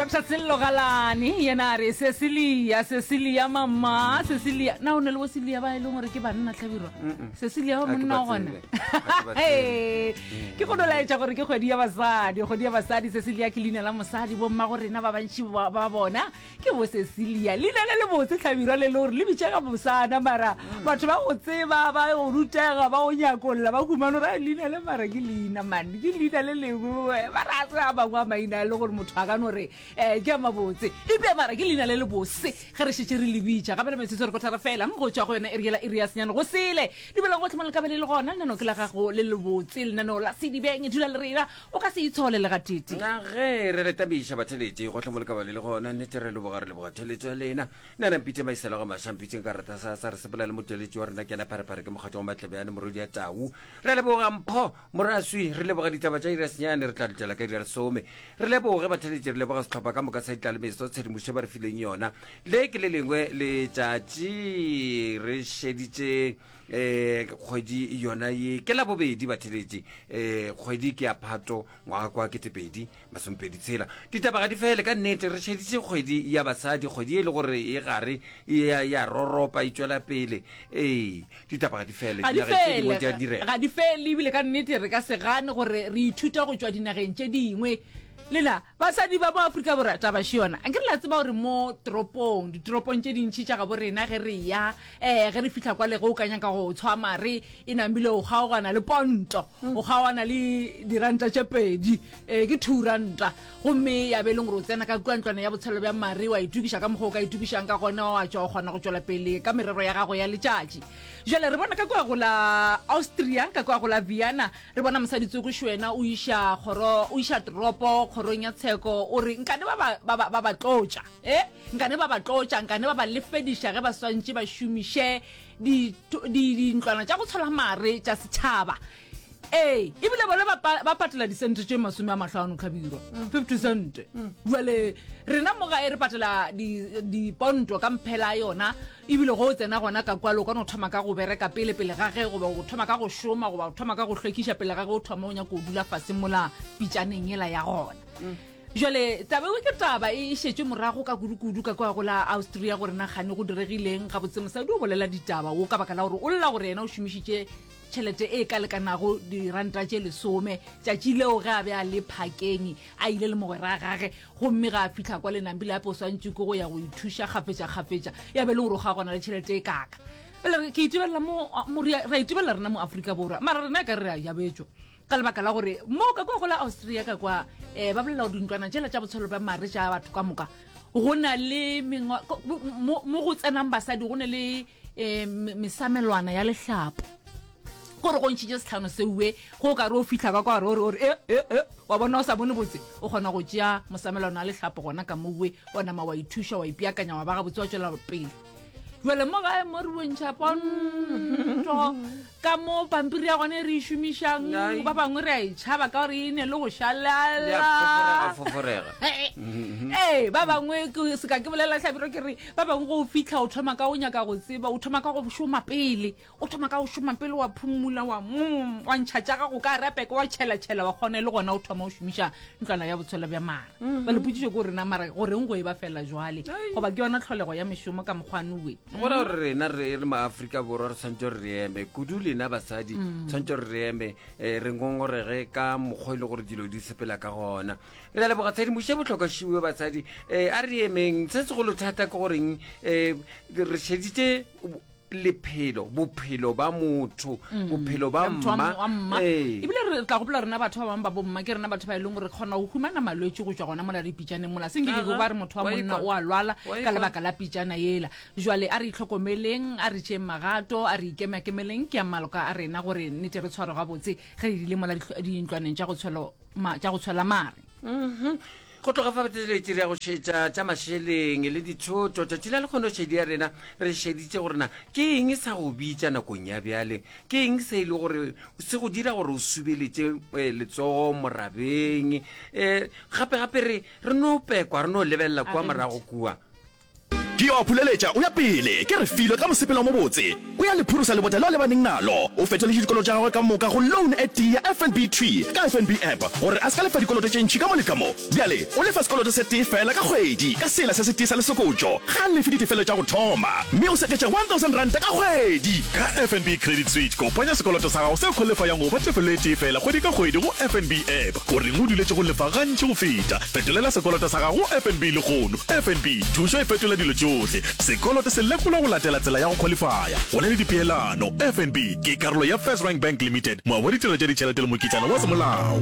Dr Sello Galane yena a re Cecilia, Cecilia mama, Cecilia. Na o ne le bo Celia ba e leng gore ke banna tlhabirwa? Cecilia wa Ha ke monna ba wa gona. tsebe. Ha ke ba tsebe. Ke go no laetša gore ke kgwedi ya basadi, kgwedi ya basadi. Cecilia ke leina la mosadi, bomma go rena ba bantši ba ba bona ke bo Cecilia. Leina le lebotse tlhabirwa le le gore le bitšega bosana mara batho ba go tseba ba go rutega ba go nyakolla ba humane gore "Ai, leina le mara ke leina man ke leina le lengwe ba ra se a mangwe a maina a le gore motho a ka no re um ke a mabotse ebile mara ke leina le le bose ge re šetše re le bitša gape le metsotso re kotara fela go tšwa go yona iri yela iri ya senyane go sele dumelang gotlhe mo le ka be le le gona lenaneo ke la gago le lebotse lenaneo la sedibeng dula le rena O ka se itshole le gatete. Na ge re le tabiša batheletši gohle mo le ka ba le le gona, nnete re leboga, re leboga theletšo ya lena. Nna na mpitše Maisela ga Maša, mpitšeng ka rata sa sa re sepela le motheletši wa rena ke yena Pharephare ke mokgatlo wa Matlebjane morwedi ya Tau. Re a leboga Mpho Moraswi, re leboga ditaba tša iri ya senyane, re tla letela ka iri ya lesome. Re leboge batheletši, re leboga sehlopha ka moka sa Ditlalemeso, tshedimošo ba re fileng yona. Le ke le lengwe letšatši re šeditše um kgwedi yona ye ke labobedi batheletši um kgwedi ke ya phato ngwaga kwa ketepedi masomepedi tshela ditaba ga di fele ka nnete re šeditše kgwedi ya basadi kgwedi e le gore e gare ya ya roropa e tšwela pele ee ditaba ga di fele ga di dinageng tše dingwe di a fele direga ga di fele ebile ka nnete re ka se gane gore re ithuta go tšwa dinageng tše dingwe lena basadi ba mo aforika borwa taba še yona anke re la tseba gore mo toropong ditoropong tše dintšhi tša gabo rena ge re ya um ge re fihla kwale ge o ka nyaka go tshwa mare e namile o kgaogana le ponto o kgaogana le diranta tše pedi um ke thuranta gomme ya be e leng gore o tsena ka kua ntlwana ya botshelo bja mare wa itokiša ka mokgwa o ka itokišang ka gona wa tšwa o kgona go tšwela pele ka merero ya gago ya letšatši jale re bona ka kua go la austria ka kua go la vienna re bona mosadi tsokoši wena o iša kgoro o iša toropo kgorong ya tsheko o re nkane ba ba ba ba ba tlotša E, nkane ba ba tlotša, nkane ba ba lefediša ge ba swantše ba šomiše di, di, dintlwana tša go tshola mare tša setšhaba. Ee, ebile bona ba, ba patela disente tše masome a mahlano tlhabirwa, 50 cent. Jwale rena mo gae re patela di, diponto ka mphela yona, ebile go o tsena gona ka kwalo o ka no thoma ka go bereka pele pele ga ge, goba o thoma ka go šoma, goba o thoma ka go hlwekiša pele ga ge o thoma o nyaka go dula fase mola pitšaneng yela ya gona. Jwale taba eo ke taba e šetšwe morago ka kudu-kudu ka kua go la Austria gore na kgane go diregileng. Gabotse mosadi o bolela ditaba wo ka baka la gore o lla gore yena o šomišitše tšhelete e ka lekanago diranta tše lesome tšatši leo ge a be a le phakeng a ile le mogwera gage gomme ga a fihla kwa lenambile ape o swantše ke go ya go ithuša kgafetša-kgafetša ya be le gore o ga gona le tšhelete e kaka. Bjale ke itebelela mo, mo re a itebelela rena mo Afrika Borwa mara rena e ka re re a jabetšwa. Ka lebaka la gore mo ka kwa go la Austria ka kwa um ba bolela gore dintlwana tšela tša botshelo bja mare tša batho ka moka go na le mo go tsenang basadi go ne le um mesamelwana ya lehlapo gore go ntšhitše setlhano seuwe go ka re o fitlha ka kwa gore ore e e e wa bona o sa bone botse o kgona go tšea mosamelwana wa lehlapo gona ka mowe wa nama wa ithuša wa ipeakanya wa ba gabotse wa tšwela pele Jale mo gae mo re bontšha ponto ka mo pampiri ya gone re e šomišang Ai. ba bangwe re a e tšhaba ka gore e ne le go Ya šalala foforega foforega. ee ba bangwe ke- se ka ke bolela hlabiro ke re ba bangwe go o fitlha o thoma ka o nyaka go tseba o thoma ka go šoma pele O thoma ka go šoma pele wa phumula wa mm, wa ntšha tša gago ka repeke wa tšhelatšhela wa kgona e le gona o thoma o šomiša ntlwana ya botshwelo bja mara. Mm -hmm. Potšišo ke gore na mara goreng go e ba fela jwale goba ke yona tlholego ya mešomo ka mokgwa nowe. Go ra gore rena re re maafrika borwa re tshwanetse gore re eme kudu lena basadi mm. tshwanetse gore re eme eh, re ngongorege ka mokgwa e le gore dilo di sepela ka gona re a leboga tshedimošo e bohlokwa šiwe basadi um a re emeng se segolo thata ke goreng um re šeditše lephelo bophelo ba motho mm. bophelo ba mma ee. ebile re tla gopola rena batho ba bangwe ba bomma ke rena batho ba e leng gore kgona go humana malwetse go tswa gona mola dipitšaneng mola seng ke ba re motho wa monna o a lwala ka lebaka la pitšana yela jwale a re itlhokomeleng a re tšeeng magato a re ikemakemeleng ke ya maloka a rena gore nnete re tshware gabotse ge re dile mola dintlwaneng tša go tshwela mare mhm. Go tloga fa botšeletši re ya go šetša tša mašeleng le dithoto. Tšatši la lekgono šedi ya rena re šeditše gore na ke eng sa go bitša nakong ya bjale, ke eng se e le gore se go dira gore o subeletše eh, letsogo morabeng. Um gape gape re re no pekwa re no lebelela kua morago kua. Ke yo a phuleletša o ya pele. Ke Refilwe ka mosepelo o mobotse. O ya le phurusa lebota leo a lebaneng nalo. O fetoletše dikoloto tša gagwe ka moka go loan e tee ya FNB thwi ka FNB app gore a se ka lefa dikoloto tše ntši ka mo le ka mo. Bjale o lefa sekoloto se tee feela ka kgwedi ka sela se setee sa lesokotšo. Ga a lefe ditefelo tša go thoma mme o seketša R1000 ka kgwedi. Ka FNB Credit Switch, kopanya sekoloto sa gago se khwalifayang go ba tefelo e tee feela kgwedi ka kgwedi go FNB app. O reng o duletše go lefa gantši go feta? Fetolela sekoloto sa gago go FNB lehono. FNB, thušo e fetola dilo tšohle. Sekoloto se lekolwa go latela tsela ya go khwalifaya. Go na le dipeelano. FNB ke karolo ya FirstRand Bank Limited, moabi wa ditirelo tša ditšhelete le mokitlana wa semolao.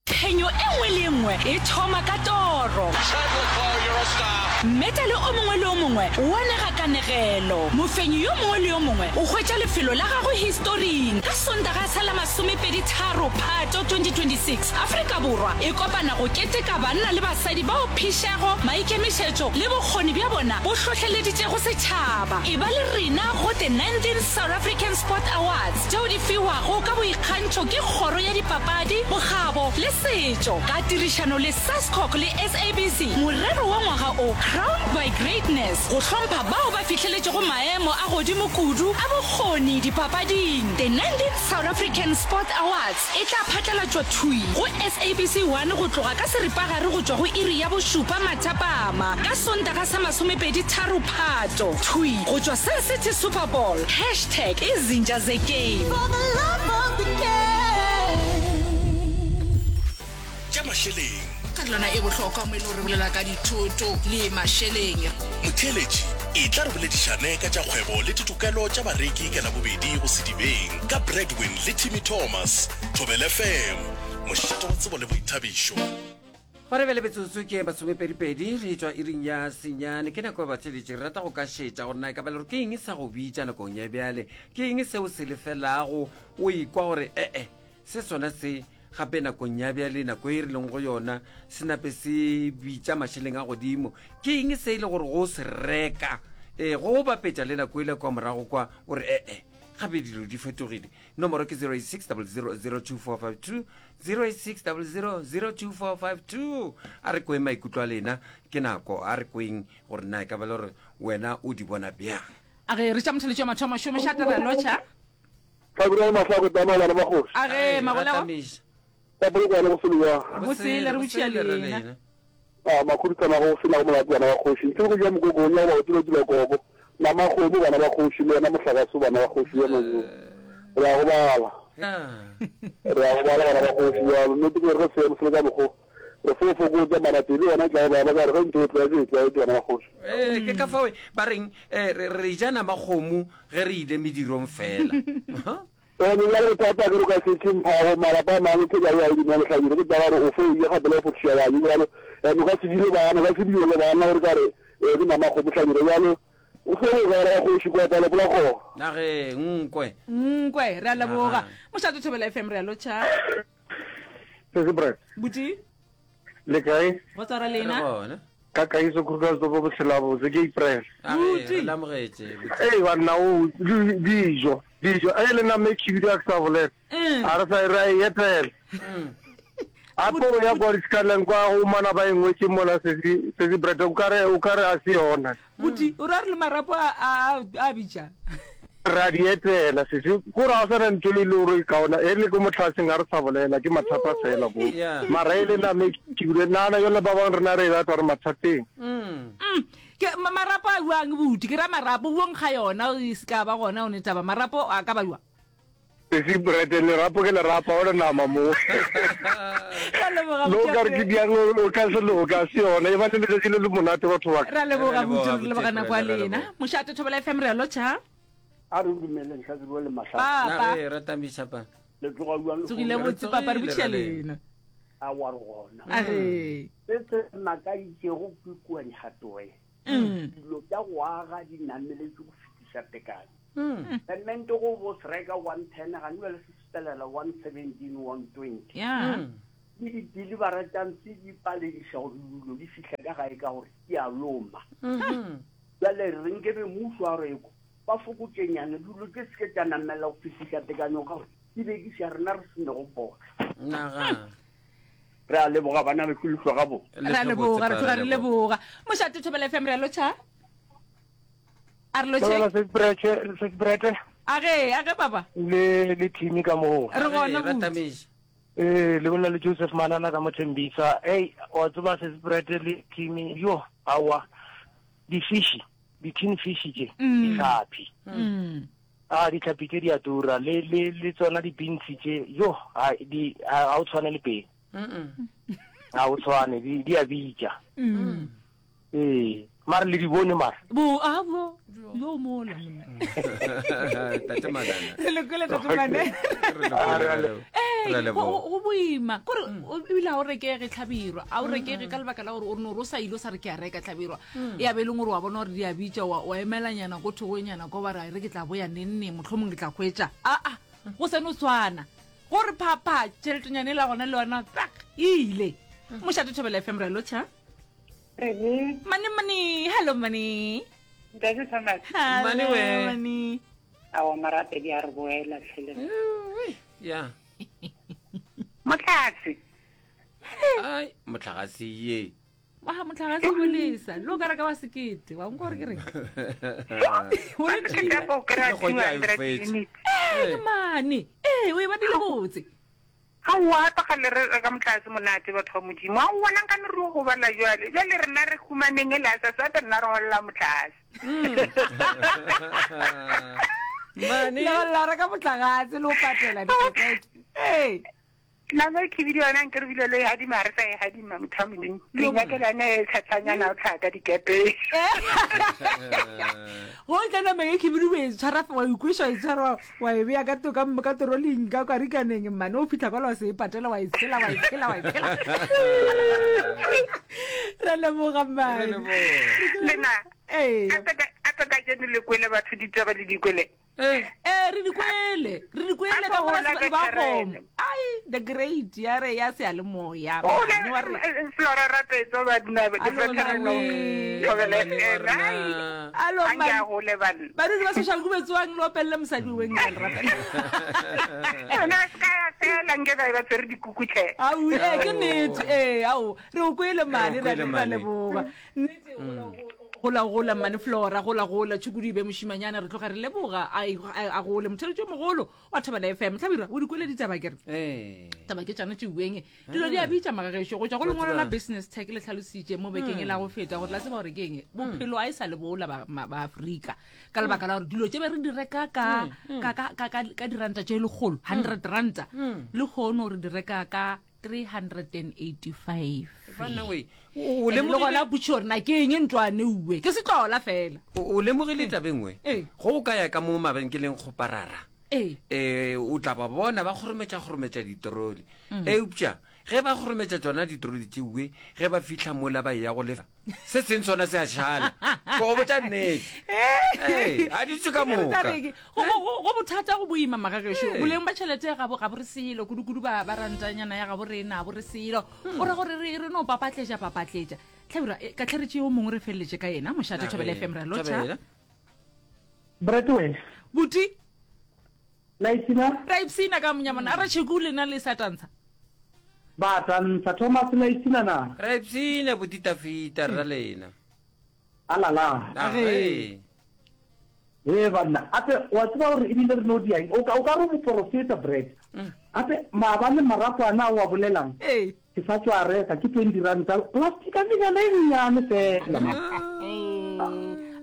Phenyo e nngwe le e nngwe e thoma ka toro. Mmetale o mongwe le o mongwe o anega kanegelo. Mofenyi yo mongwe le yo mongwe o hwetša lefelo la gagwe historing. Ka Sontaga sa la masomepedi-tharo Phato 2026, Afrika Borwa e kopana go keteka banna le basadi bao phišego, maikemišetšo le bokgoni bja bona bo hlohleleditšego setšhaba. Eba le rena go The 19th South African Sport Awards tšeo di fiwago ka boikgantšho ke Kgoro ya Dipapadi, Bokgabo le Setšo ka tirišano le SASCOC le SABC. Morero wa ngwaga o, Crowned by Greatness, go hlompha bao ba fihleletšego maemo a godimo kudu a bokgoni dipapading. The 19th South African Sport Awards e tla phatlalatšwa thwi go SABC 1 go tloga ka seripagare go tšwa go iri ya bošupa mathapama ka Sontaga sa masomepedi-tharo Phato, thwi go tšwa Sun City Super Bowl. Hashtag Izinja Zegame. For the love of the game. Tša mašeleng. Karolwana e bohlokwa mo e le gore re bolela ka dithoto le mašeleng. Motheeletši, etla re boledišane ka tša kgwebo le ditokelo tša bareki ka Labobedi go Sedibeng ka Bradwin le Timmy Thomas, Thobela FM, mošate wa tsebo le boithabišo. Gona bjale metsotso ke masomepedipedi re tšwa iring ya senyane. Ke nako ya batheeletši. Re rata go ka šetša gore na e ka ba le gore ke eng sa go bitša nakong ya bjale, ke eng seo se lefelago o ikwa gore ee se sona se gape nakong ya bjale, nako e re leng go yona, se nape se bitša mašeleng a godimo. Ke eng se e le gore go se reka ee go bapetša le nako e le kwa morago kwa o re ee gape dilo di fetogile. Nomoro ke 086 00 02452 086 00 02452. A re kweng maikutlo a lena, ke nako, a re kweng gore na e ka ba le gore wena o di bona bjang. A ge re tša motheletši wa mathomo šomiša taba lotšha. Hlabirwa le Mahlako Tama bana ba kgoši. A ge Magolego. Ka polokwane go selewa. Bosele re botšia lena. A makhuduthamaga go se nago molato bana ba kgoši. Ntle le go ja mokoko o nyaka go tula tula koko. Nama kgomo bana ba kgoši le yena mohlagase bana ba kgoši ya manyo. Re a go bala. Re a go bala bana ba kgoši bjalo. Nnete ke gore ge seemo se le ka mokgo re fo fokotša mara pelo yona e tla go baba ka gore ge ntho o tlwaetše e tlwaetše bana ba kgoši. Ee, ke ka fao ba reng eh, re re ja nama kgomo ge re ile medirong fela. Ene bjale bothata ke re o ka se tše mphago malapa a mangwe ke ba ya e dinwa lehlabile ke taba gore o fo ile gape le go fothiša bane bjalo ene o ka se dile bana o ka se dio le bana gore ka re eh, ke nama kgomo hlabile bjalo o fo go gara kgoši kwa pala pola go Na ge nkwe. Nkwe, re a leboga. Mošate Thobela FM re a lotšha. Sesi Brad. Buti. Le kae? Go tsara lena. Re gona. Ka Kagiso Krugersdorp bophelo botse ke April. Buti. Re lamogetše. Ee banna o dijo dijo e le nama e khibidu a ke sa bolela. Mm. A re sa re a e etela. Mm. A po ya kwa disekaleng kwa go mana ba e ngwetše mola sesi sesi Brad o kare o kare a se yona. Buti o ra re le marapo a a a bitša. Re a di etela sesi ko re ga o sana ntho e le gore e kaona e le ko motlhaseng ga re sa bolela ke mathata fela bo mara e le name ke bile nana yone ba bangwe rena re e batla re mathateng. Mm. Ke marapo a buang buti ke ra marapo buong ga yona e se ka ba gona o ne taba marapo a ka ba jwa. Sesi Brete, lerapo ke lerapo, ga o le nama mo. Ra leboga Lo ka re ke diang o ka se loka, se yona. E ba le letšatši le le monate batho ba ka. Ra leboga buti, re leboga nako ya lena. Mošate Thobela FM re a lotšha. A re dumeleng Hlabirwa le Mahlako. Papa. Re ratamiša pa. Le tsoga bjang le Tsogile botse papa re botšiša lena. A wa re gona. A re. Se se makaditšego ke kua Dihatoe. Dilo tša go aga di nameletše go fetiša tekanyo. Semente go bo se reka 110 gane bjale se sepelela 117 120. Yeah. Le di-delivera tša ntse di palediša gore dilo di fihle ka gae ka gore di a loma. Bjale re nke be mmušo wa reko ba fokotšenyana dilo tše se ke tša namela go fetiša tekanyo ka gore di bekiša rena re se nego potla. Naga. Re a leboga bana bešu le hlwa gabotse. Re a leboga, re tloga re leboga. Mošate Thobela FM re a lotšha. A re lotšhe. Sesbrete. A ge, a ge baba. Le le team ka moo. Re gona buti. Eh, le bolela le Joseph Manana ka mo Thembisa. Hey, wa tseba Sesbrete le team yo, awa. Di fish, di tin fish tše, ditlhapi. Mm. A ditlhapi tše di a tura le le le tsona di beans tše yo ha di ha o tshwane le pele. Ha o tshwane di di a bitša. Mm. Ee, mare le di bone mare. Bo a bo yo mola monna. Tate Manana. Re le kwele tate Manana. Re Eh, go go boima. Kore ebile ha o rekege tlhabirwa. A o rekege ka lebaka la gore o no re o sa ile o sa re ke a reka tlhabirwa. Ya be e leng gore wa bona gore di a bitša wa wa emelanyana ko thogonyana ko ba re re ke tla boya neng neng mohlomong ke tla hwetša. A a go sa no tshwana. Gore phapha tšheletenyana e la gona le yona tak e ile. Mošate Thobela FM re lotšha. Re Mane mane, hello mane. Ntate Thomas. Hello, Mane we. Mane. Awa marapedi a re boela tlhele. Ya. Motlhatse. Ai, motlhagase ye. Wa motlhagase o lesa. Lo ka reka wa sekete. Wa nko gore ke reng? O re Ke ka go kry-a Le kgwedi a e 200 fetše. units. Eh, mane. Eh, o e badile botse. Aowa, gape ga le re reka motlase monate, batho ba Modimo. Aowa, na nka no re o gobala jwale. Jwale rena re humaneng e le a sa gape rena re golela motlase. Mane. Le golela reka motlakase le o patela dikete. Ee. Nama e khibidu yona nke re bile le e hadima, ga re sa e hadima, motho wa Modimo. Re inyakela yona e tshatsanyana o tlhaga ka dikepeng. Go tla nama e khibidu o e tshwara wa ikweša wa e tshwara wa e bea ka to- ka ka toroling ka karikaneng mmane o fitlha kwala wa se e patela wa e tshela wa e tshela wa e tshela re leboga mmane Lena, ee gape ka- gape kajeno le kwele batho ditaba le di kwele. Ee, re di kwele re di kwele ka Gola gore ka ba terene. kgomo ai the great ya re ya seyalemoya Gola, Mmane wa re eh, Flora Rapetso ba dina Alo, veteran of Mane. Thobela Mane wa FM. Ai, rena. alo a nke a mmane gole banna. badudi ba social kubetsoang le opelele mosadi weng ka le rapela Yona se ka ya fela nke ba ba tshwere dikuku tlhe. Au, ee ke nnete ee ao re o kwele mane Re o re kwele a mane. leboga nnete gola gola mmane flora gola gola tšhukudu e be mošimanyana re tloga re leboga a a gole motheletši o mogolo wa thobela fm hlabirwa o di kwele ditaba kere Ee. taba ke tšana tšeueng dilo di a bitša magagešo go tšwa go lengwalo la business tech le tlhalositše mo bekeng e la go feta gore la tseba gore ke eng bophelo a e sa le bola ba ma- ba afrika ka lebaka la gore dilo tše be re di reka ka ka ka ka ka ka diranta tše lekgolo 100 ranta le kgono re di reka ka 385 Banna we, o o le lemogile gona putšo gore na ke eng ntlwane uwe ke setlola fela o o lemogile taba e nngwe Ee. go o ka ya ka mo mabenkeleng kgoparara ee eh o tla ba bona ba kgorometša kgorometša ditroli eupša ge ba kgorometša tsona ditroli tšeue ge ba fihla mola ba eya go lefa se seng sona se a šala ke go botša nnete Ee, a di tswe ka moka go go- go bothata go boima magagešo Ee. boleng ba tšhelete ga bo ga bo re selo kudu-kudu ba ba rantanyana ya gabo rena bo re selo o ra gore re re no papatletša papatletša tlhabira eh, ka tlharetše yo mongwe re feleletše ka yena mošate thobela fm re a lotšha Thabela. Bratwell, buti la ipshina? ra ipshina ka monyamana a re tšheku lena le sa tantsha Ba tantsha. Thomas la ipshina na? Ra ipshina botitafita rra lena. Alala. Age. Ee banna, ape wa tseba gore ebile re no diang. O ka o ka re moporofeta Brad. Ape maabane marapo ana a o a bolelang. Ee. Ke sa tšwa reka ke 20 ranta plastic a menyana e nnyane fela.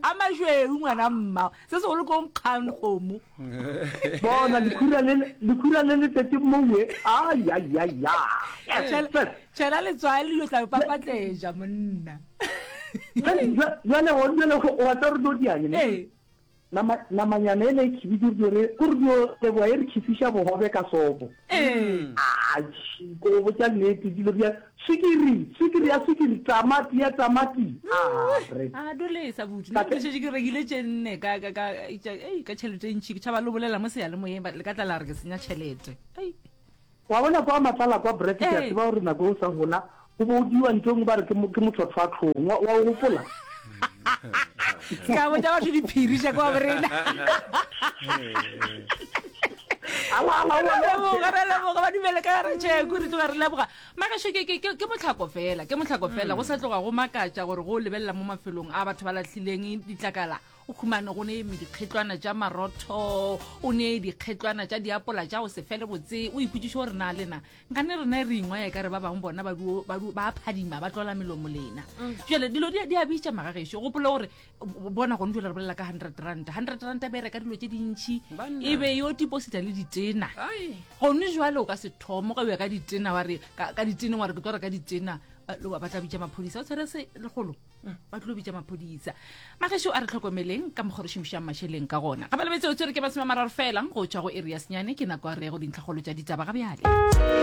A mašweu ngwana mma se segolo ko nkgang kgomo. Bona lekhura le lekhura le le tletse mowe. Ai ai ai ya. Tšhela letswai le yo tla papatleja monna. Jale gone jale wa tsa re no diang ne. Nama, namanyana ele e khibidu re dio re, ko re dio leboga e re khifiša bogobe ka sopo. Ee. Atšhi, ko go botša nnete, dilo di a, swikiri, swikiri ya swikiri, tamati ya tamati. Ah, re. A dolesa buti, nna ke šetše ke rekile tše nne ka, ka, ka, tša, ei, ka tšhelete e ntši, ke tšhaba le bolela mo seyalemoyeng, ba, le ka tla la re ke senya tšhelete. Ei. Wa bona kwa Matlala kwa Brett ke a Ee. tseba gore nako o sa gola go bo o diwa ntho e nngwe ba re ke mo- ke motlhotlhwatlhong wa wa o gopola Se ka botša batho diphiri tša kwa borena. Leboga, re leboga ba dumele ka gare tšheko re tloga re leboga. Magašo ke ke ke mohlako fela, ke mohlako fela go sa tloga go makatša gore go lebelela mo mafelong a batho ba lahlileng ditlakala o humane go ne dikgetlwana tša marotho, o ne dikgetlwana tša diapola tša go se fele botse, o ipotšiše gore na lena nkane rena re ingwaya ka re ba bangwe bona ba duo ba duo ba phadima ba tlola melomo lena. Jale dilo di di a bitša magagešo, gopola gore bona gone jale re bolela ka 100 rand 100 rand be reka dilo tše dintšhi e be yo deposita le ditena gone jwale o ka se thomo ka ya ka ditena wa re ka ditena wa re ke tlo reka ditena ba tla bitša maphodisa o tshwere se legolo mm. ba tlo bitša maphodisa magešo a re tlhokomeleng ka mokgwa re šomišang mašeleng ka gona ga ba lebetse o tshwere ke masome a mararo fela go tšwa go area senyane ke nako ya re ya go dintlhakgolo tša ditaba ga bjale.